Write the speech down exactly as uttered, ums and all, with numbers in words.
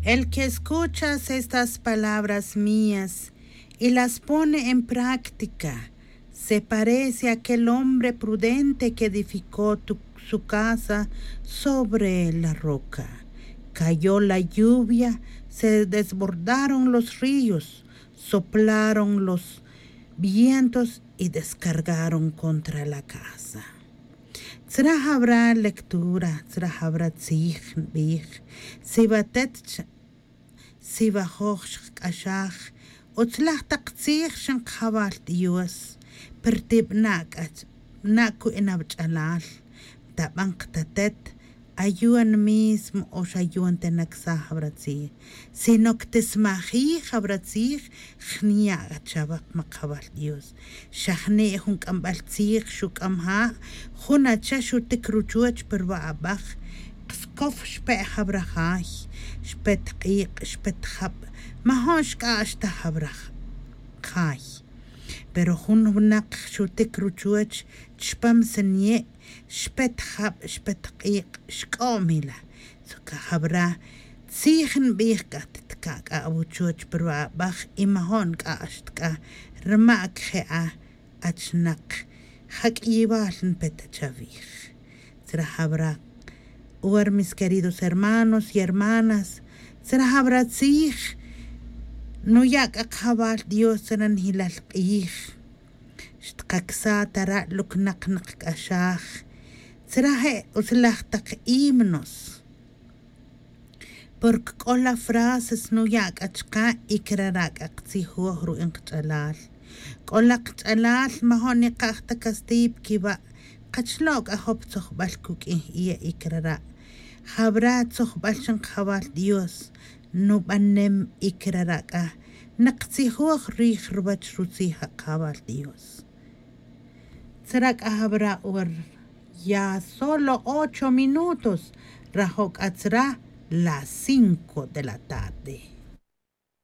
El que escuchas estas palabras mías y las pone en práctica, se parece a aquel hombre prudente que edificó tu- su casa sobre la roca. Cayó la lluvia, se desbordaron los ríos, soplaron los vientos y descargaron contra la casa. Tzra jawra lectura, tzra jawra tzij nbij, si watet, si wajoj xqk'axaj, utzlaj taq tzij xin qajawal Dios, pero ti b'na' k'a, b'na' ku'in awach'alal, tab'an qtatet, ayon mismo o xayon ta naksaj awra tzij, sino que tismajij awra tzij, jniya' chawaq ma qajawal Dios. Xa jni' jun k'amb'al tzij xuk'am ja', jun acha xutik ruchoch pa ruwa' ab'aj, qskof xpe' jawra jay, xpet q'iq', xpet jab', majo'n xk'ax ta jawra jay. Pero jun winaq xutik ruchoch chpam sniye', xpet jab', xpet q'iq', xk'o'm ila. Suka jawra tzij nbij k'a, tkak'a awuchoch pa ruwa' ab'aj y majo'n k'ax tk'a, rma que je' a achnaq, ja k'iywal npe ta chawij. Tzra jawra, uwar mis queridos hermanos y hermanas, tzra jawra tzij nuya' k'a qajawal Dios tzra njilal q'ij. Xtqaksa' ta ra' luknaq nqk'axaj, tzra je' utzlaj taq himnos. Porque k'ola frases nuya' k'a chqa' y crara' k'a qtzijoj ru'in qach'alal. K'ola qach'alal majo'n nikaj ta castigo pa kiwa', qachlo' k'a jop tzojb'al kuk'in y crara'. Jawra tzojb'al xin qajawal Dios nub'anem y crara' k'a naqtzijoj rij ruwach rutzij qajawal Dios. Tzra k'a jawra uwar, ya solo ocho minutos, rajo' k'a tzra las cinco de la tarde.